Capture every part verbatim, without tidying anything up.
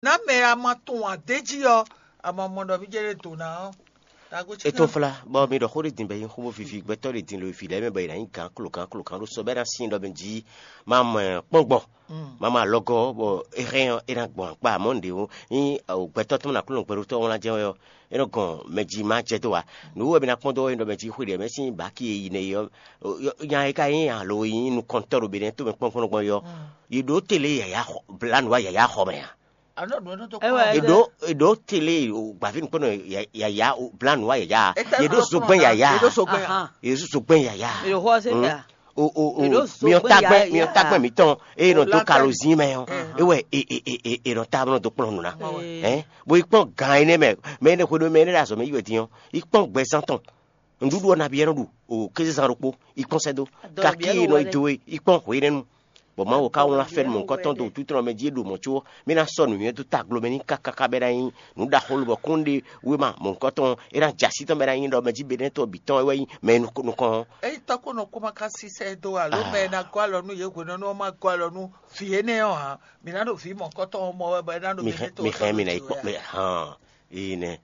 Ná mɛ a ma tunwun adéjí ɔ́, a ma mɔ ɖɔ mí jɛ ɖe dǒ ná ɔ́. Nagbo É tɔ́n flá, bɔ mi ɖɔ xó ɖé din bɔ é nyí xó bó vivi gbɛtɔ́ ɖé din lo vǐ lɛ́ɛ mɛ bɔ è nǎ nyí gǎn klokan klokan ɖó sɔ bɔ é ná sin ɖɔ mɛ jí má mɔ kpɔ́n gbɔ. Má mɔ alɔgɔ́ bɔ é hɛn ɔ́, é ná gbɔn akpá amɔ̌ nǔɖé ó. Nyí gbɛtɔ́ tɔn ná kplɔ́n gbɛɖótɔ́ wlán jɛ́n wɛ ɔ́, é nɔ gɔn mɛ jí má jɛ dó wa. Nǔ wɛ mi ná kpɔ́n dó wɛ ɖɔ mɛ jí xwe ɖě mɛ sín bǎki e yi nɛ é ɔ́, nya e ka nyí alo e nyí nukɔntɔ́ ɖo Benɛ́ tomɛ kpɔ́n gbɔn gbɔn é ɔ́, yi ɖǒ tele yǎyá xɔ blǎ nǔ wa yǎyá xɔ mɛ a? Eɖo eɖo tele o gbavi nukpɔnɔ yaya o bla nua yaya. Yeɖo zogbɛn yaya. Yeɖo zogbɛn yaya. Yeɖo xɔ se ta. O o o. Miɔ tagbɛn miɔ tagbɛn mitɔn eye nɔ dó kalozin mɛ ɔ ewɛ e e e e nɔ ta nɔ dó kplɔn nu na. Ɛ bo yi kpɔn gan yi nɛ mɛ mɛ ne xwe ɖo mɛ ne ɖe azɔ mɛ yi wɛ din ɔ yi kpɔn gbɛzan tɔn. Nǔɖuɖu ɔ́ nabí ɛ nɔ ɖu o kézezan ɖokpó yi kpɔn sɛ́ dó. Kaki e nɔ yi do e yi kpɔn hwenɛ́nu. Bɔ Mawu ka wlán fɛ́nú mɔ̌hunkɔtɔn dó wútu tɔn mɛ jí e ɖo mɔ̌ có mì ná sɔ́ nǔnywɛ́ dó taglo mɛ n'i káká bɔ é ná nyí nǔ ɖaxó lobɔ kún ɖe wéma mɔ̌hunkɔtɔn ɔ́, é ná jɛ así tɔn bɔ é ná nyí ɖɔ mɛ jí Benɛ́tɔ́ bǐ tɔn é wɛ nyí mɛ e nukɔn ɔ́. Ényí tɔ́ kó nɔ kó ma ka sísɛ dó alo mɛ e ná gɔ́ alɔ nú yě hwenɛ́nu ɔ́ ma gɔ́ alɔ nú vǐ énɛ́ ɔ́ ǎ, mǐ ná ɖo vǐ mɔ̌hunkɔtɔn ɔ́ mɔ wɛ bɔ é ná ɖo mɛ mǐ hɛn mǐ hɛn mǐ ná yi kpɔ́ mɛ hàn. Éyi nɛ́.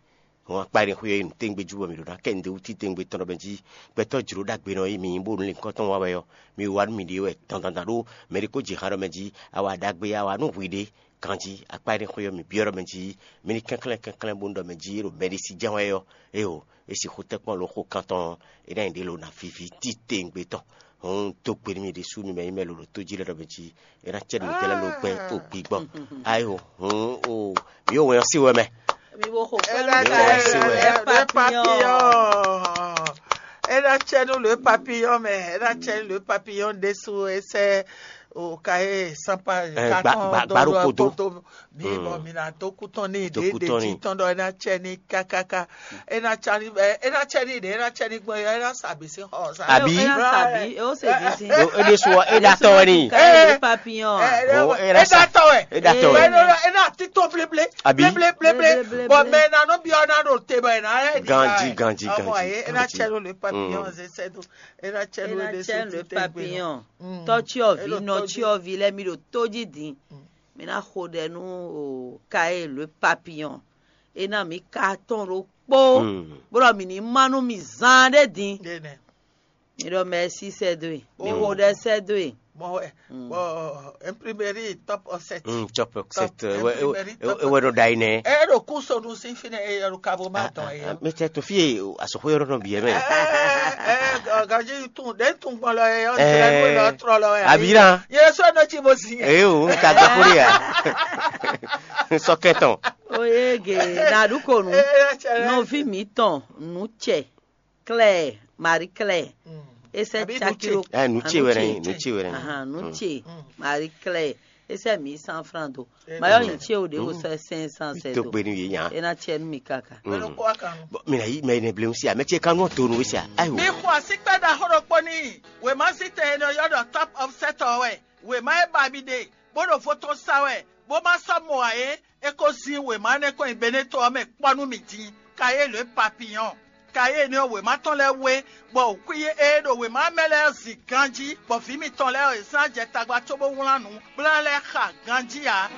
Hɔn akpa e xwé ɔ́ yi nǔtɛ́ngbe jí bɔ mǐ ɖo ná kɛ nǔɖé wú títɛngbé tɔn ɖɔ mɛ jí gbɛtɔ́ jlǒ ɖagbe nɔ yi mǐ nyí bónú lǐnkɔ́n tɔn wa wɛ ɔ́, mi wa nú miɖée wɛ dandandan ɖó mɛ ɖé ko jǐ han ɖɔ mɛ jí a wa ɖagbe a wa nú hwi ɖé ganjí akpa e xwé ɔ́ mǐ byɔ́ ɖɔ mɛ jí mi ní kɛnklɛ́n kɛnklɛ́n bónú ɖɔ mɛ jí é ɖo mɛɖé sí jɛ́n wɛ ɔ́, éeǒ, é sixú tɛ́ kpɔ́n lǒ xo kan tɔn ɔ́, é ná nyi ɖě lo ná víví títɛngbé tɔn. Hɔn un dó gbe nú mi ɖésú mi mɛ nyí mɛ lolo tó jí lɛ́ɛ ɖɔ mɛ jí é ná cɛ nǔ tɛ́ lɛ́ɛ lo gbɛn o gbigbɔ. Ayo, hɔn o, mi yóò wɛn ɔ́ sí wɛ mɛ. Mi bo xo kpɛ́ nú Mǐ wɔ wɛ sí wɛ. ɛ papiyɔn. É ná cɛ nú le papiyɔn mɛ, é ná cɛ nú le papiyɔn ɖésú é sɛ o ka é sanpa Ɛ, gba- gba- gba ɖokpó dó. Mi bɔ mi na dó kú tɔn ní Dó ɖe kú ɖe tɔn tí ní. Tɔn ɖɔ é ná cɛ ní kákáká, é ná cɛ ní ɛ, é ná cɛ ní ɖe é ná cɛ ní gbɔn é ná sàbí sí xɔ sa. Àbí? Ena sabi, e o se di si. Ɖo éɖé sɔ é ɖa tɔ wɛ ni. Kayi papillon. Oh, é ɖa sa. Tɔwɛ. É ɖa tɔ wɛ. É ɖo é ná tító bléblé. Àbí? Bléblé bléblé. Bléblé, Bɔn bléblé. Mɛ ná nɔ byɔ́ ná ɖo te bɔ é ná lɛ. Ganji, ganji, Ọmọ ganji, yé é ná ganji. Cɛ ló le papillon Mm. zé sɛ́ dó. É ná cɛ ló Ena le cɛ le sɛ́ dó. papillon. Tɔtsyɔvi, Elo nɔtsyɔvi lɛ mi ɖo tó dzi din. Mi ná xo ɖɛ nú o kayi le papillon. E ná mi ka tɔn ɖo kpó. Mm. Bó ɖɔ mi ní má nú mi zán ɖé din. Ɖé nɛ. Mi ɖɔ mɛsi sɛ dó e. Mi Oh. xo ɖɛ sɛ dó e. Mɔ wɛ. Bɔn imprimerie top offset. Mm, top offset. Top Ewe imprimerie top ewe ɖo ɖa yi nɛ. Ɛ ɖo kú sonu sí fi nɛ ɛ ɖo kabo ma dɔn ɛ. Mɛ tɛ to fie asɔxo yɔrɔ nɔ biɛ mɛ. Ɛ ɛ gaji tun ɖe tun gbɔn lɔ ɛ ɔn Ɛ. tẹ ló lọ trɔ lɔ ɛ. Abi na. Yɛ sɔ nɔ tsi bo si yɛ. Ee o, n ka gbɔ kúrò ya. Sɔkɛtɔn. Oyege naɖukonu. Ɛ ɛ cɛ lɛ. Nɔvi mitɔn nu cɛ Claire, Marie Claire. Esɛ Abi tsaki nu ɖo. Ɛ nu tse wɛ nɛ, nu tse wɛ nɛ. Ahan, nu tse Marie Claire. Esɛ mi san franc do. Eh, Mayɔ yin tse o de o sɛ cinq cents sɛ To do. gbe ni ye nya. Ena tsɛ nu mi kaka. Mɛ lɔ kɔ akan. Bon, mina yi mɛ ne blem sia, mɛ tse ka nɔ to nu sia. Ayo. Mi xɔ asi kpɛ ɖaxó ɖokpó n'i. Wěma sí tɛn e nɔ ylɔ́ ɖɔ top of set ɔ́ wɛ. Wěma e ba mi ɖe, bó ɖo vo tɔn sa wɛ, bó ma sɔ́ mɔ ǎ é, é ko zín wěma énɛ́ kɔn nyi Beneto ɔ́ mɛ kpɔ́ nú mì din. Kayéle papillon. Kayéle ɔ́ wěma tɔn lɛ́ɛ wé, bɔ wǔkwíyé e ɖo wěma mɛ lɛ́ɛ zin ganjí, bɔ vǐ mitɔn lɛ́ɛ ɔ́, è zán jɛ tagba cóbó wlán nǔ, bó ná lɛ́ xa ganjí ǎ.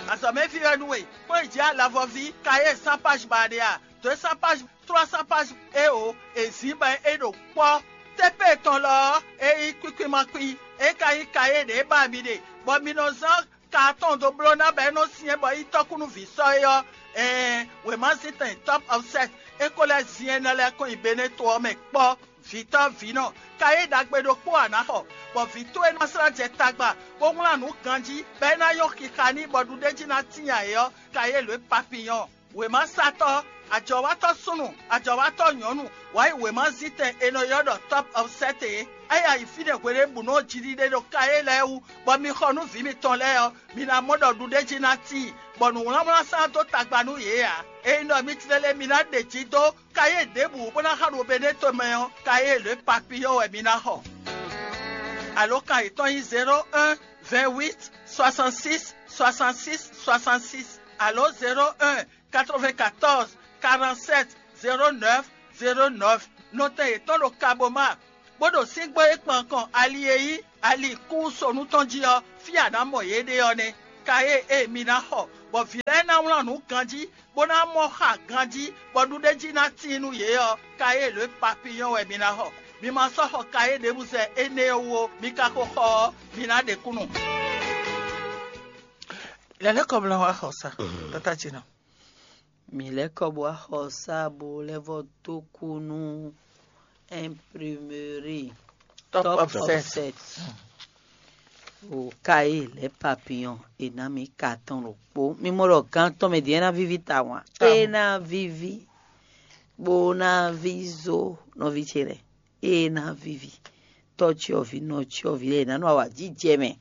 Azɔ̌mɛví wɛ nú we, kpɔ́n yi jǐ alavɔví, kayé cent page ba ɖe a? Deux cents pages, trois cents pages, éeǒ, è zǐn bɔ é ɖo kpɔ́. Tépée tɔn lɔ ɔ́, é nyí kwíkwímakwi, é ka nyí kayé ɖě ba mi ɖe, bɔ mi nɔ zán ka atɔn dó bló ná bɔ é nɔ syɛ́n bɔ é nyí tɔ́kúnúví sɔ́ é ɔ́, ɛɛn, wěmazíntɛn top of set, é ko lɛ́ zin énɛ́ lɛ́ɛ kɔn nyi Beneto ɔ́ mɛ kpɔ́. Vǐtɔ́ vǐnɔ, kayé ɖagbe ɖokpó ǎ ná xɔ, bɔ vǐ towe ná slá jɛ tagba, bó wlán nǔ ganjí, bɔ é ná nyɔ́ xixa n'i bɔ ɖuɖéjí ná tíin ǎ é ɔ́, kayé lǒ e papiyɔn. Wěmasatɔ́, ajɔ̌watɔ́ súnnu, ajɔ̌watɔ́ nyɔ̌nu, wǎ yi wěmazíntɛn è nɔ ylɔ́ ɖɔ top of set é. É yi ayi fínɛ́ hweɖěbǔnu ɔ́ jiɖiɖe ɖo kayé lɛ́ɛ wú, bɔ mi xɔ nú vǐ mitɔn lɛ́ɛ ɔ́, mi ná mɔ ɖɔ ɖuɖéjí ná tíin, bɔ nǔwlánwlán sán dó tagba nú yě ǎ. Ényí ɖɔ mi tlɛ lɛ́ɛ mi ná ɖe jǐ dó kayé ɖěbǔ bó ná xa ɖo Beneto mɛ ɔ́, kayé lě papiyɔ́ wɛ mi ná xɔ. Alǒkan yětɔn nyí zéro un, vingt huit, soixante six, soixante six, soixante six, alo zéro un, quatre vingt quatorze, quarante sept, zéro neuf, zéro neuf. Nɔtɛn yětɔn ɖo Kaboma, bó ɖo síngbó e kpan kɔn ali e nyí ali kúsonu tɔn jí ɔ́, fí a nǎ mɔ yě ɖe ɔ́ nɛ́. Kayé e mi ná xɔ bɔ vǐ lɛ́ɛ ná wlán nǔ ganjí, bó ná mɔ xa ganjí, bɔ nǔɖéjí ná tíin nú yě ɔ́, kayé lě papiyɔ́n wɛ mi ná xɔ. Mi ma sɔ́ xɔ kayé ɖěbǔ sɛ énɛ́ ɔ́ wú ó, mi ka ko xɔ ɔ́, mi ná ɖe kúnnu. Lɛ̌lɛ́kɔ blá wá xɔ sa, tata ce nɔ. Mi lɛ́ kɔ bó wá xɔ sa bó lɛ́ vɔ dó kú nú imprimerie Top Top Offset. Offset. O kayé lɛ́ papiyɔn è nǎ mi ka tɔn ɖokpó. Mi mɔ ɖɔ gán tɔn mɛ din é ná víví tawun a? Tawun. É ná víví bó ná ví zó nɔví ce lɛ́ɛ. É ná víví tɔ́cyɔvǐ nɔcyɔvǐ lɛ́ɛ è nǎ nɔ awǎjijɛ mɛ.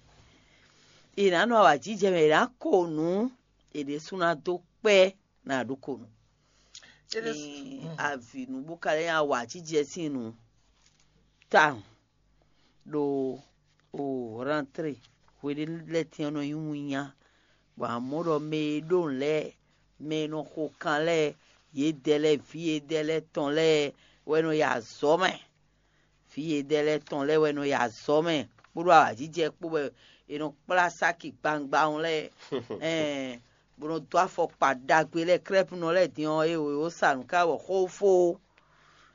È nǎ nɔ awǎjijɛ mɛ è nǎ ko nǔ è ɖésú ná dó kpɛ́ ná ɖó ko nú. Ní avǐ nú bó ka lɛ́ nyi awǎjijɛ sín nǔ tawun ɖo o rentrée hweɖénu lɛ́ɛ tɛ́n ɔ́ nɔ nyí winnyá, bɔ amɔ̌ ɖɔ mɛ e ɖó nǔ lɛ́ɛ, mɛ e nɔ xo kan lɛ́ɛ, yědɛɛ lɛ́ɛ, vǐ yědɛɛ lɛ́ɛ tɔn lɛ́ɛ wɛ nɔ yi azɔ̌ mɛ. Vǐ yědɛɛ lɛ́ɛ tɔn lɛ́ɛ wɛ nɔ yi azɔ̌ mɛ kpódó awǎjijɛ kpó wɛ è nɔ kplá sáki gbangban lɛ́ɛ, ɛn, bó nɔ dó afɔkpa ɖagbe lɛ́ɛ, krɛ́pnɔ lɛ́ɛ din ɔ́, é wǒ sa nǔ ká wɔ xófó.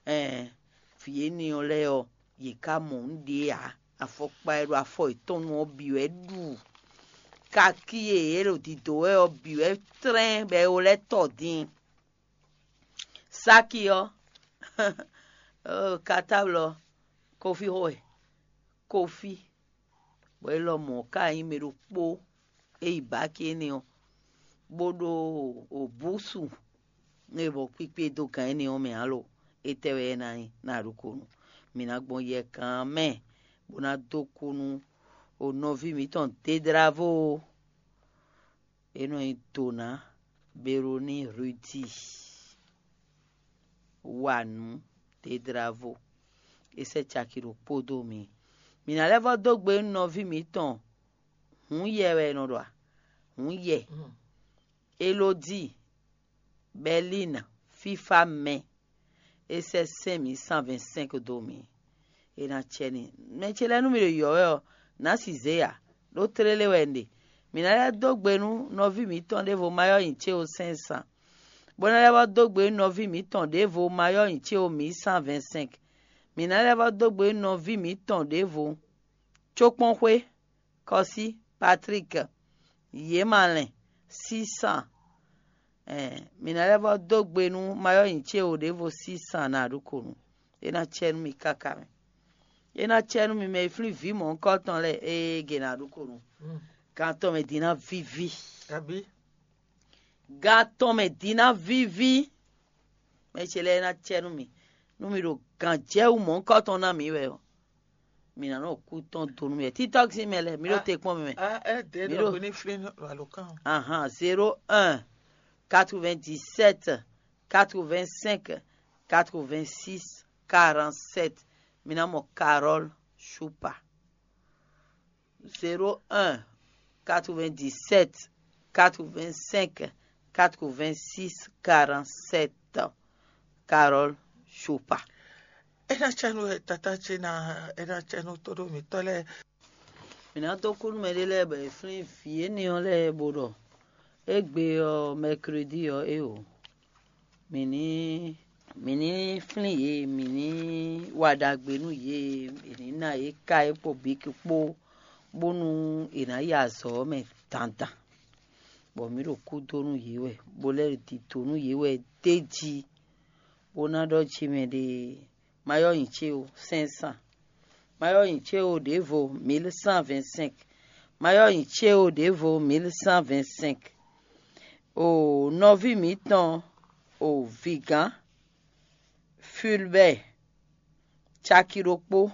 Ɛn, vǐ énɛ́ ɔ́ lɛ́ɛ ɔ́, yě ká mɔ nǔ ɖě ǎ. Afɔkpa e ɖo afɔ yětɔn nu ɔ́ bǐ wɛ ɖu. Kakí e yě ɖo dǐdó wɛ ɔ́ bǐ wɛ tlɛ́n bɔ é wó lɛ́ tɔ din. Sáki ɔ́, katáblɔ, kofi xo wɛ, kofi, bɔ é lɔmɔ̌ ka nyí mɛ ɖokpó e yi bǎki énɛ́ ɔ́, bó ɖó bǔsu e bɔ kpikpe dó gǎn énɛ́ ɔ́ mɛ ǎ lo, étɛ́ wɛ é ná nyí ná ɖokónu? Mǐ ná gbɔn yɛkan mɛ bó ná dó kú nú nɔví mǐtɔn Dedravo. É nɔ nyí Dona, Beroni, Rudi, wa nǔ, Dedravo. É sɛ́ caki ɖokpó dó mi. Mǐ ná lɛ́ vɔ́ dó gbe nú nɔví mǐtɔn Hǔn yɛ wɛ è nɔ ɖɔ a? Hǔn yɛ. Elodíi, Bɛlín, fífá mɛ, é sɛ́ sɛ́n mǐ cent vingt-cinq dó mǐ. É ná cɛ n'i. Mɛ ce lɛ́ɛ nú mì ɖo yɔ̌ wɛ ɔ́, nǎ si zě ǎ, ɖó tlélé wɛ un ɖe. Mǐ ná lɛ́ dó gbe nú nɔví mǐtɔn ɖěvo Mayɔ́ nyi céwo cinq cents, bó ná lɛ́ vɔ́ dó gbe nú nɔví mǐtɔn ɖěvo Mayɔ́ nyi céwo mǐ cent vingt-cinq. Mǐ ná lɛ́ vɔ́ dó gbe nú nɔví mǐtɔn ɖěvo Cókpɔ́nxwé, Kɔsí, Patrík, Yěmalɛn, Sísan. Ɛɛ, mǐ ná lɛ́ vɔ́ dó gbe nú Mayɔ́ nyi céwo ɖěvo Sísan ná ɖu ko nú. É ná cɛ nú mi káká mɛ. É ná cɛ nú mi mɛ e flín vǐ mɔ̌hunkɔtɔn lɛ́ɛ, ée gě ná ɖu ko nú. Gan tɔn mɛ din ná víví. Abǐ? Gan tɔn mɛ din ná víví. Mɛ ce lɛ́ɛ é ná cɛ nú mi. Nú mi ɖo gǎnjɛwú mɔ̌hunkɔtɔn ná mǐ wɛ ɔ́, mǐ ná nɔ kú tɔn do nú mì wɛ. Títɔ́ sín mɛ lɛ́ɛ, mǐ ɖo te kpɔ́n mi mɛ. Ah, eh, dě Mǐ ɖo ɖɔ hwi ní flín wɛ lo kán o. Ahan, zéro un, quatre-vingt-dix-sept, quatre-vingt-cinq, quatre-vingt-six, quarante-sept. Mǐ ná mɔ Carole Choupa. Zéro un, quatre-vingt-dix-sept, quatre-vingt-cinq, quatre-vingt-six, quarante-sept. Carole Choupa. É ná cɛ nú tata ce ná, é ná cɛ nú tóɖó mǐtɔn lɛ́ɛ. Mǐ ná dó kú nú mɛɖé lɛ́ɛ bɔ è flín vǐ énɛ́ ɔ́ lɛ́ɛ bó ɖɔ égbé ɔ́, mɛkredi ɔ́, é o. Mǐ ní mǐ ní flín yě, mǐ ní wa ɖagbe nú yě, è ní ná yě ká é kpó bǐki kpó, bónú è nǎ yi azɔ̌ ɔ́ mɛ dandan, bɔ mǐ ɖo kúdó nú yě wɛ, bó lɛ́ ɖo dǐdó nú yě wɛ d'é jí, bó ná ɖɔ jí mɛ ɖe, Mayɔ́ nyi céwo cinq cents, Mayɔ́ nyi céwo ɖěvo mille cent vingt-cinq, Mayɔ́ nyi céwo ɖěvo mille cent vingt-cinq. O nɔví mǐtɔn, o vǐgán Fulbɛ́ɛ, caki ɖokpó,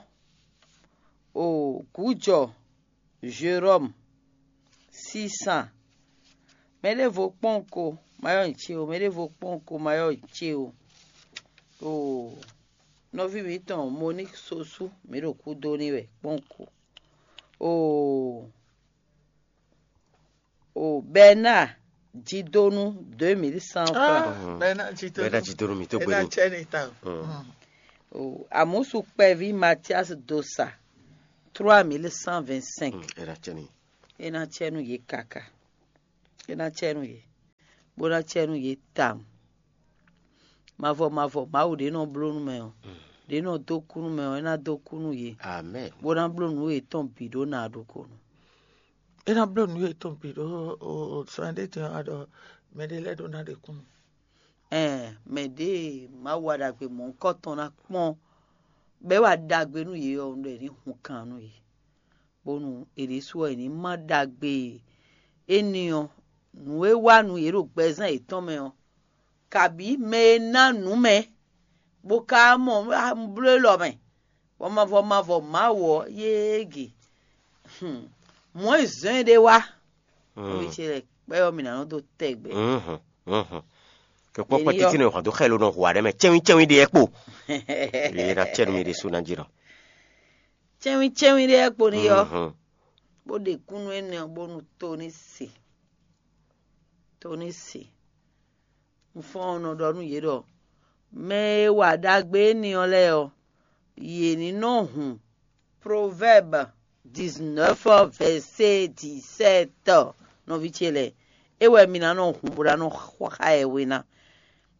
o gǔjɔ Jerɔ́mu, six cents. Mɛɖěvo kpɔ́n ko, Mayɔ́ nyi céwo, mɛɖěvo kpɔ́n ko, Mayɔ́ nyi céwo. O nɔví mǐtɔn Moník Sosú, mǐ ɖo kúdó n'i wɛ kpɔ́n ko. O o Bɛnáa Jidonu, deux mille cent francs. Ah, Bɛnáa Jidonu. Bɛnáa Jidonu, mi tó gbé ní. Bɛnáa cɛ ni ta o. O Amusu kpɛví Mathias Dosa, trois mille cent vingt-cinq. Ɛ ná cɛ ni. É ná cɛ nú yě káká. É ná cɛ nú yě, bó ná cɛ nú yě tawun. Mavɔ mavɔ Mawu ɖě nɔ bló nú mɛ ɔ́, ɖě nɔ dó kú nú mɛ ɔ́, é ná dó kú nú yě, Amen. Bó ná bló nǔ yětɔn bǐ ɖó na ɖokonu. É ná bló nǔ yětɔn bǐ ɖó sɔn ɖé din ɔ́ ɖɔ mɛɖé lɛ́ɛ ɖó ná ɖe kúnnu. Ɛn mɛ ɖě e Mawu wa ɖagbe mɔ̌hunkɔtɔn ná kpɔ́n, bɔ é wa ɖagbe nú yě ɔ́, un ɖɔ è ní hun kan nú yě, bónú è ɖésú ɔ́ è ní má ɖagbe énɛ́ ɔ́, nǔ e wa nú yě ɖo gbɛzán yětɔn mɛ ɔ́, kabǐ mɛ e ná nǔ mɛ, bó ka mɔ bló élɔ́ mɛ, bɔ mavɔ mavɔ Mawu ɔ́ yége. Mɔ̌ e zɔ́n ɛ ɖé wá, nɔví ce lɛ́ɛ, kpɛ́ ɔ́ mi ná nɔ dó tɛgbɛ. Kɛkpɔ́ kpɛ́ títí nɔ hɔn dó xɛlo nɔ hu aɖe mɛ cɛwin cɛwin ɖe ɛ kpo. Yě ná cɛ nú mi ɖésú ná jí nɔ. Cɛwin cɛwin ɖe ɛ kpo ní yɔ, bó ɖe kúnnu énɛ́ ɔ́ bónú tó ní se. Tó ní se. Un fɔ́n ɔ́ nɔ ɖɔ nú yě ɖɔ mɛ e wa ɖagbe énɛ́ ɔ́ lɛ́ɛ ɔ́, yě ní nɔ hun Proverbe dix-neuf verset dix-sept. Nɔví ce lɛ́ɛ, é wɛ mi ná nɔ hun bó ná nɔ xá ɛ we ná.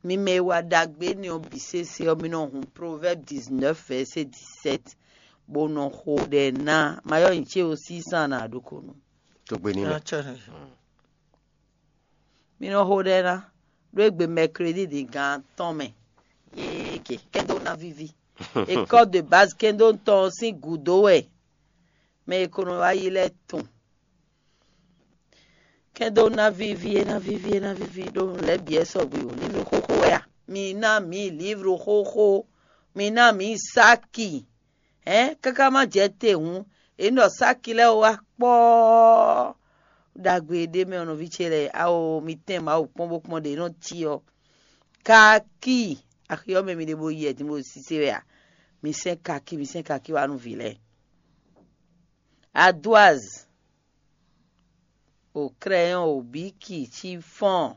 Mi mɛ e wa ɖagbe énɛ́ ɔ́ bǐ sésé ɔ́, mi nɔ hun Proverbe dix-neuf verset dix-sept, bó nɔ xo ɖɛ ná. Ma yɔ nyi ce o sísán ná ɖokonu. Togbe ní mɛ. Mi nɔ xo ɖɛ ná ɖó égbé mɛkredi din gan atɔ́ɔ́n mɛ. Yéé ke kɛ́ndó ná víví. École de base kɛ́ndó tɔn ɔ́ sín gǔdo wɛ mɛ e ko nɔ wá yi lɛ́ɛ tɔn. Kɛ́ndó ná víví é ná víví é ná víví ɖó nǔ lɛ́ɛ bǐ wɛ sɔgbe o. Livru xóxó wɛ a? Mi ná mǐ livru xóxó. Mi ná mǐ sáki. Hɛ̌n káká má jɛ te hǔn, è nɔ ɖɔ sáki lɛ́ɛ wá kpɔ́ɔ́. Ɖagbe e ɖ'é mɛ ɔ́, nɔví ce lɛ́ɛ, ao mi tɛ́n Mawu kpɔ́n bó kpɔ́n ɖě nɔ cí ɔ́. Kaki axi ɔ́ mɛ mi ɖe bo yi wɛ din bo sise wɛ a? Mi sɛ́n kaki, mi sɛ́n kaki wá nú vǐ lɛ́ɛ. Adoaz, o crayɔn, o biki, chiffon,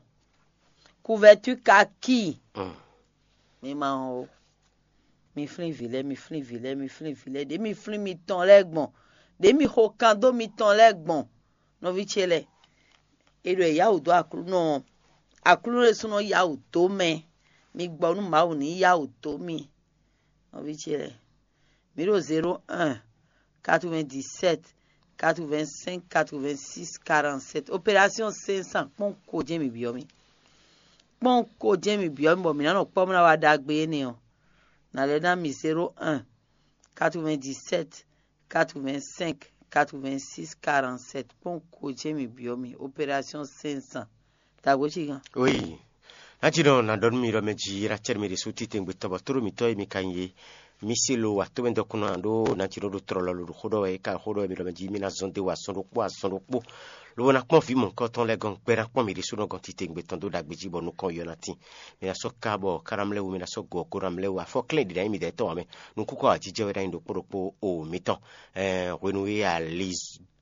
couverture kaki. Mi ma hɔn o. Mi flín vǐ lɛ́ɛ, mi flín vǐ lɛ́ɛ, mi flín vǐ lɛ́ɛ. Ɖě mi flín mitɔn lɛ́ɛ gbɔn, ɖě mi xo kan dó mitɔn lɛ́ɛ gbɔn, nɔví ce lɛ́ɛ. È ɖɔ è yá wǔ dó Aklúnɔ ɔ́, Aklúnɔ ɖésúnɔ yá wǔ dó mɛ. Mi gbɔ nú Mawu ní yá wǔ dó mi, nɔví ce lɛ́ɛ. Mi ɖo zéro un, quatre-vingt-dix-sept, quatre-vingt-cinq, quatre-vingt-six, quarante-sept. Opération cinq cents, kpɔ́n ko jɛ́n mi byɔ́ mì. Kpɔ́n ko jɛ́n mi byɔ́ mì bɔ mǐ ná nɔ kpɔ́ bó ná wá ɖagbe énɛ́ ɔ́. Nǎ lɛ́ ná mi zéro un, quatre-vingt-dix-sept, quatre-vingt-cinq, quatre-vingt-six, quarante-sept. Kpɔ́n ko jɛ́n mi byɔ́ mì. Opération cinq cents. Dǎgbó cí gán. Oui. Nati nɔ na ɖɔ nú mi ɖɔ mɛ jí é ná cɛ nú mi ɖésú titewungbe tɔn bɔ tóɖó mǐtɔn e mi ka nyí é. Mi se lo wa tómɛ dɔkun ná ɖó nati nɔ ɖo tlɔlɔ lo ɖo xó ɖɔ wɛ é ka xó ɖɔ wɛ mi ɖɔ mɛ jí mi ná zɔn dé wa azɔn ɖokpó azɔn ɖokpó. Lobo ná kpɔ́n vǐ mɔ̌hunkɔtɔn lɛ́ɛ gɔ́n gbɛ ná kpɔ́n mi ɖésú nɔ gɔ́n titewungbe tɔn dó ɖagbe jí bɔ nukɔn yɔ ná tín. Mi ná sɔ́ ká bɔ ká ná mlɛ́ wu mi ná sɔ́ gɔ kó ná mlɛ́ wu afɔ klɛ́n ɖi ná nyí mi dɛ̌ tɔn ǎ mɛ. Nukúnkɔ ajijɛ wɛ ná nyí ɖokpó ɖokpó o mitɔn. Hwenu e ali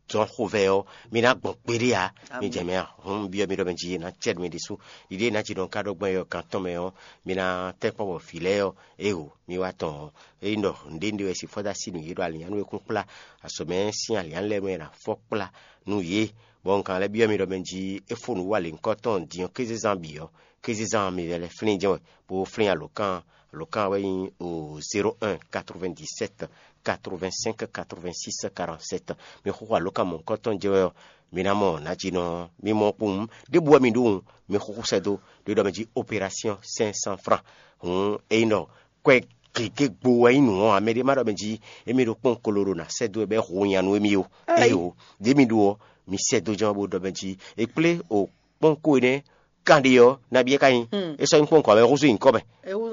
zɔn xovɛ ɔ́, mi ná gbɔn kpéɖé ǎ. Mi jɛ mɛ a hun byɔ́ mi ɖɔ mɛ jí ná cɛ mi ɖésú. Ɖiɖée ná jí nɔ ka ɖɔ gbɔn yɔ kan tɔn mɛ ɔ́, mi ná tɛ́ kpɔ́n bɔ vǐ lɛ́ɛ ɔ́, ého mi wá tɔn ɔ́. Ényí ɖɔ nǔɖé nǔɖé wɛ si fɔ́ dó así nǔ yě ɖo alǐnnyánú e kún kplá, azɔ̌mɛ sín alǐnnyánú lɛ́ɛ mɛ ná fɔ́ kplá nú yě. Bɔ un ka lɛ́ byɔ́ mi ɖɔ mɛ jí é fó nǔ wa lě ŋkɔ́ tɔn din ɔ́ kézezán bǐ ɔ́, kézezán mi lɛ́ flín jɛ́n wɛ, bó flín alǒkan. Alǒkan wɛ nyí o zéro un quatre-vingt-dix-sept quatre-vingt-cinq quatre-vingt-six quarante-sept. Mi xóxó alǒkan mɔ̌hunkɔtɔn jɛ wɛ ɔ́, mi ná mɔ nǎjínɔ. Mi mɔ kpowun ɖěbǔ wɛ mi ɖó wun, mi xóxó sɛ́ dó ɖo ɖɔ mɛ jí opération cinq cents francs. Hǔn ényí ɖɔ kwɛ gěgé gbo wɛ nyí nǔ ɔ́, amɛ ɖé má ɖɔ mɛ jí émí ɖo kpɔ́n kolo ɖo nǎ sɛ́ dó wɛ bɔ é hu nya nú émí ó. Éyo, ɖě mi ɖó ɔ́, mi sɛ́ dó jɛ́n bó ɖɔ mɛ jí è kplé o kpɔ́n ko énɛ́ kanɖe ɔ́, nabí é ka nyí? É sɔ́ nyí kpɔ́n kɔ wɛ húzú nyǐkɔ mɛ.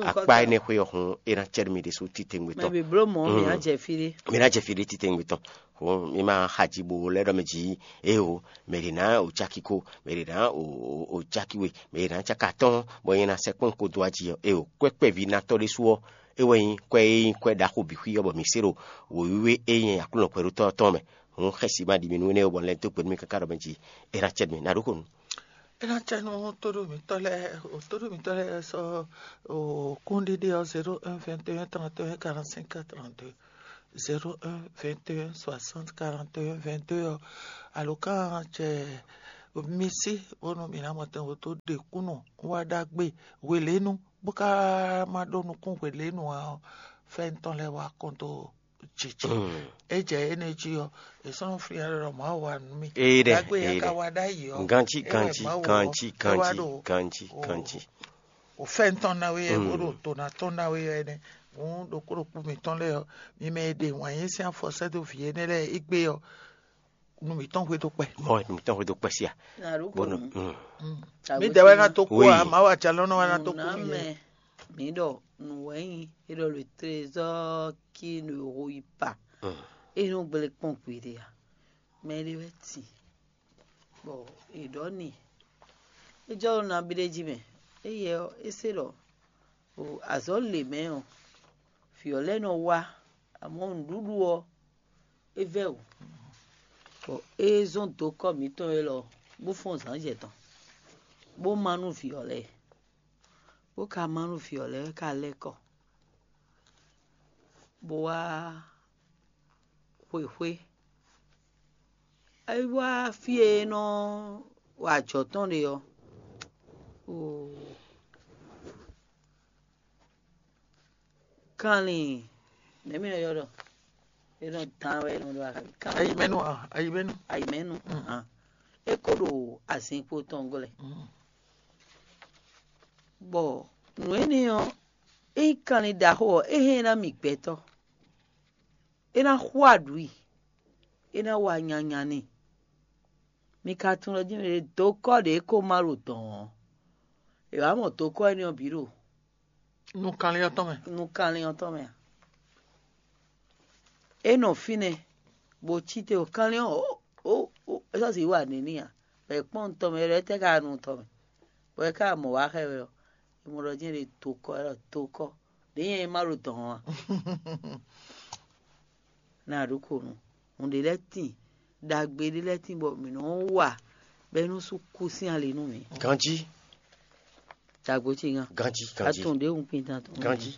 Akpa énɛ́ xwé ɔ́ hun é ná cɛ nú mi ɖésú titewungbe tɔn. Mɛ bi bló mɔ̌ mi ná jɛ fí ɖé. Mi ná jɛ fí ɖé titewungbe tɔn. Hǔn mi ma xa ji bo lɛ́ ɖɔ mɛ jí éyo, mɛ ɖě ná o cáki ko, mɛ ɖě ná o cáki we, mɛ ɖě ná cáka tɔn, bɔ nyɛ ná sɛkpɔ́n ko dó aji ɔ́. Éyo, kwɛ́ kpɛví ná tɔ́ ɖésú ɔ́, é wɛ nyí kwɛ́ e nyí kwɛ́ ɖaxó bǐ xwí ɔ́, bɔ mǐ se ɖo wǒyíwé e nyí Aklúnɔ kwɛɖótɔ́ ɔ́ tɔn mɛ. Hǔn xɛsi ma ɖi mi nú énɛ́ ó, bɔ un lɛ́ dó gbe nú mi káká ɖɔ mɛ jí é ná cɛ nú mi ná ɖó xo nú. É ná cɛ nú tóɖó mǐtɔn lɛ́ɛ, tóɖó mǐtɔn lɛ́ɛ sɔ́ kúnɖiɖi ɔ́ zéro un vingt et un trente et un quarante-cinq trente-deux, zéro un vingt et un soixante quarante et un vingt-deux ɔ́, alǒkan cɛ Mi sí bónú mǐ ná mɔ tɛn wǒ tó ɖe kúnnu wá ɖagbe hwelénu, bó ka ma ɖó nukún hwelénu ǎ ɔ́, fɛ́n tɔn lɛ́ɛ wá kɔn dó jǐ jí. É jɛ énɛ́ jí ɔ́, è sɔ́ nɔ flín ɖɔ Mawu wa nú mì. Éɖɛ, Ɖagbe ya ka éɖɛ. Wa ɖ'ayǐ ɔ́, Ganjí, é wɛ ganjí, Mawu ɔ́, ganjí, é wá ganjí, ɖo ganjí, o- ganjí. O fɛ́n tɔn ná wé ɛ bó ɖo to ná tɔn ná wé ɛ nɛ́. Hǔn ɖokpó ɖokpó mǐtɔn lɛ́ɛ ɔ́, mi mɛ e ɖe wǎn yí sín afɔ sɛ́ dó vǐ énɛ́ lɛ́ɛ égbé ɔ́, nu mǐtɔn hwe dó kpɛ. Mɔ nǔ tɔn hwe dó kpɛ sí a? Bónú, mm. Mǐdɛɛ wɛ ná tó kú a? Mawu ajalɔ́nɔ wɛ ná tó kú nú yɛ. Mǐ ɖɔ nǔ wɛ nyí é ɖɔ le trésor qui ne rouille pas. É nɔ gblé kpɔ́n gbeɖé a? Mɛ ɖé wɛ tin, bɔ è ɖɔ n'i é jɔ ɖo nabí ɖé jí mɛ. Éyɛ ɔ́, é se ɖɔ o azɔ̌ lě mɛ ɔ́, vǐ ɔ́ lɛ́ nɔ wá, amɔ̌ nǔɖuɖu ɔ́, é vɛ́ wǔ, bɔ é zɔ́n dǒkɔ mǐtɔn élɔ́ bó fɔ́n zǎnzɛ tɔn, bó má nú vǐ ɔ́ lɛ́ɛ, bó ka má nú vǐ ɔ́ lɛ́ɛ ka lɛ́ kɔ, bó wá xwexwé. É wá fí e é nɔ wa ajɔ̌ tɔn ɖe ɔ́, oo, kanlin nɛ̌ mì nɔ ylɔ́ ɖɔ? É nɔ dán wɛ é nɔ ɖɔ axi. Kanlin Ayimɛnu a? Ayimɛnu. Ayimɛnu. É ko ɖo azinkpo tɔn gɔ́ lɛ. Bɔ nǔ énɛ́ ɔ́, é nyí kanlin ɖaxó ɔ́, é hɛn ná mì gbɛtɔ́. É ná xú aɖǔ i, é ná wa nyanya n'i. Mi ka tunwun ɖɔ jí mɛ ɖé dó kɔ́ ɖě ko má ɖo dɔ̌n ɔ́, è wǎ mɔ dó kɔ́ énɛ́ ɔ́ bǐ ɖo nukɔnlin ɔ́ tɔn mɛ. Nukɔnlin ɔ́ tɔn mɛ a? É nɔ fínɛ́, bó cí te o kanlin ɔ́, ó, ó, é sɔ́ sǐ wa nǐ n'i a? Bɔ è kpɔ́n nú tɔn mɛ, é ɖɔ étɛ́ ka nu tɔn mɛ, bɔ é ka mɔ wǎ xɛ wɛ ɔ́, é mɔ ɖɔ jɛ́n ɖě dó kɔ́, é ɖɔ dó kɔ́, ɖě nyɛ e má ɖo dɔ̌n ɔ́ a? Ná a ɖǒ ko nu. Nǔ ɖé lɛ́ɛ tíin, ɖagbe ɖé lɛ́ɛ tíin bɔ mǐ nɔ́ wa bɔ é nɔ́ sú kú sín ali nú mǐ. Ganjí. Dagbo ce gán. Ganjí, ganjí. Atun ɖě hun kpintan tɔn. Ganjí.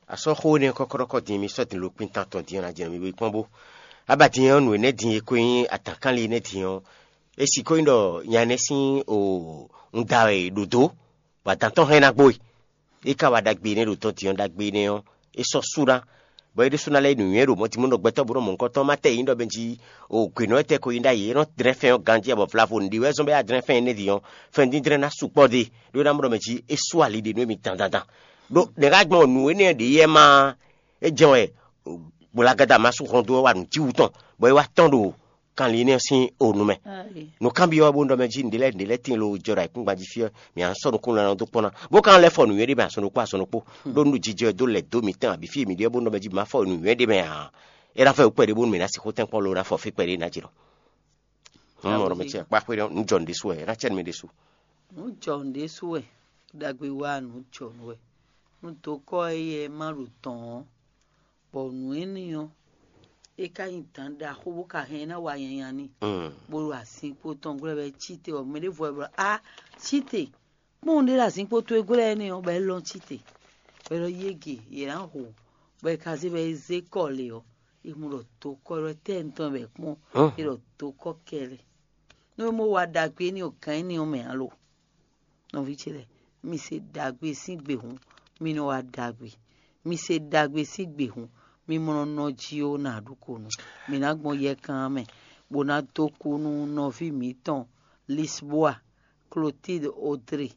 A sɔ́ xó énɛ́ kɔ́kɔ́ɖɔkɔ́ din, mi sɔ́ din lo kpintan tɔn din ɔ́, ná jɛ mi bo yi kpɔ́n bó. Abadin ɔ́, nǔ énɛ́ din e ko nyí atǎnkanlin énɛ́ din ɔ́, é sixó nyí ɖɔ nya énɛ́ sín o un da wɛ è ɖǒ dó, bɔ adǎn tɔn hɛn ná gbo e. É ka wa ɖagbe énɛ́ ɖo tɔn din ɔ́, ɖagbe énɛ́ ɔ́, é sɔ́ sú ná, bɔ é ɖésú ná lɛ́ nǔnywɛ́ ɖo mɔ̌ din bó nɔ gbɛtɔ́ bó nɔ mɔ nukɔn tɔn má tɛ yě nyí ɖɔ mɛ jí o gwěnɔ tɛ́ ko nyí ɖ'ayǐ, é nɔ dlɛ́n fɛn ɔ́ ganjí, bɔ vlavo nǔɖé wɛ zɔ́n bɔ é wá dlɛ́n fɛn énɛ́ din ɔ́, fɛn díndrɛ́n ná sukpɔ́ ɖe, ɖó é ná mɔ ɖɔ mɛ jí é sú ali ɖe nú émí dandandan. Ɖó nɛ̌ ká gbɔn nǔ énɛ́ ɖě yɛ má é jɛ́n wɛ Gbolagada ma sú hɔn dó wá nǔ jí wú tɔn, bɔ é wá tɔ́n ɖo kanlin énɛ́ sín o nu mɛ. Nǔkanbyɔ́ bó nɔ mɛ jí nǔɖé lɛ́ɛ nǔɖé lɛ́ɛ tíin lo jɔ ɖo ayǐkúngban jí fí ɔ́, mǐ á sɔ́ nukúnnú ná dó kpɔ́n ná, bó ka lɛ́ fɔ nǔnywɛ́ ɖé mɛ azɔn ɖokpó azɔn ɖokpó, ɖó nú jijɛ dó lɛ̌ dó mǐtɛn abǐ fí e mǐ ɖe ɔ́ bó nɔ mɛ jí mǐ má fɔ nǔnywɛ́ ɖé mɛ ǎ. É ná fɔ wǔ kpɛɖé bónú mǐ ná sixú tɛ́nkpɔ́n lo ná fɔ fí kpɛɖé ná jlɔ́. Nǔ mɔ ɖɔ mɛ ce kpá xwé ɖɔ nǔ jɔ nǔ ɖésú wɛ, é ná cɛ nú mì ɖésú. Nǔ jɔ nǔ ɖésú wɛ, ɖagbe wá nǔ jɔ nǔ wɛ. Nú dokɔ́ éyɛ́ má ɖo dɔ̌n ɔ́, bɔ nǔ énɛ́ ɔ́, é ka nyí dǎn ɖaxó bó ka hɛn ɛ ná wa nyanya n'i, bó ɖo azinkpo tɔn glɔ́ bɔ é cí te, bɔ mɛ ɖěvo wɛ bló á cí te, kpɔ́n ɖé ɖo azinkpo towe glɔ́ énɛ́ ɔ́, bɔ é lɔ́n cí te, bɔ é ɖɔ yége yě ná hu, bɔ è ka zé bɔ é zé kɔ lě ɔ́, è mɔ ɖɔ dokɔ́ ɖɔ tɛ́ tɔn wɛ kpɔ́n, é ɖɔ dokɔ́ kɛlɛ. Nú é mɔ wa ɖagbe énɛ́ ɔ́, gǎn énɛ́ ɔ́ mɛ ǎ lo? Nɔví ce lɛ́ɛ, mi se ɖagbe sín gbe hǔn, mi nɔ wa ɖagbe. Mi se ɖagbe sín gbe hǔn, mi mɔ nɔ nɔ jí ó ná ɖu ko nu. Mi ná gbɔn yɛkan mɛ, bó ná dó kú nú nɔví mǐtɔn Lisboa, Clotilde Audrey,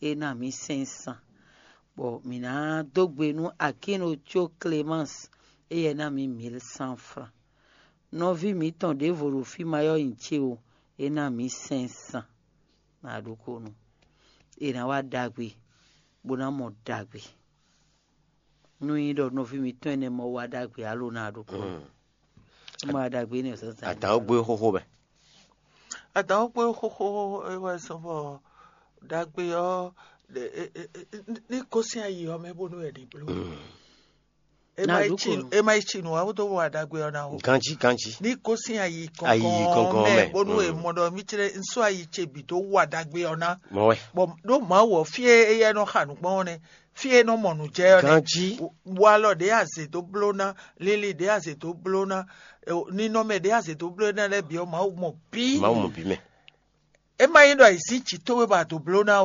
é ná mǐ sɛ́n san. Bɔ mǐ ná dó gbe nú Akíno có Clémence, éyɛ́ ná mǐ mǐl cent francs. Nɔví mǐtɔn ɖěvo ɖo fí ma ɔ́ nyi ce o, é ná mǐ sɛ́n san. Ná ɖokpónɔ. È nǎ wa ɖagbe, bó ná mɔ ɖagbe. Nú nyí ɖɔ nɔví mǐtɔn énɛ́ mɔ wa ɖagbe alo ná ɖokpónɔ. Mɔ wa ɖagbe énɛ́ zǎnzǎn. Adǎn ó gbé xóxó mɛ. Adǎn ó gbé xóxó é wɛ zɔ́n bɔ ɖagbe ɔ́ ní gosín ayi ɔ́ mɛ bónú wɛ ní bló. É má yi ci nǔ wá bó dó wa ɖagbe ɔ́ ná o. Ganjí, ganjí. Ní gosín ayi kɔnkɔn mɛ bónú è mɔ ɖɔ mí tlɛ nsó ayi ce bǐ dó wa ɖagbe ɔ́ ná. Mɔ wɛ. Bɔ ɖó Mawu ɔ́ fí e éyɛ́ nɔ xa nǔ gbɔn ɔ́ nɛ́, fí e nɔ mɔ nǔ jɛ ɔ́ nɛ́. Ganjí. Walɔ ɖě azě dó bló ná, lili ɖě azě dó bló ná, ninɔmɛ ɖě azě dó bló ná lɛ́ɛ bǐ ɔ́, Mawu mɔ bǐ. Mawu mɔ bǐ mɛ. É má nyí ɖɔ è sín jǐ towe bɔ a dǒ bló ná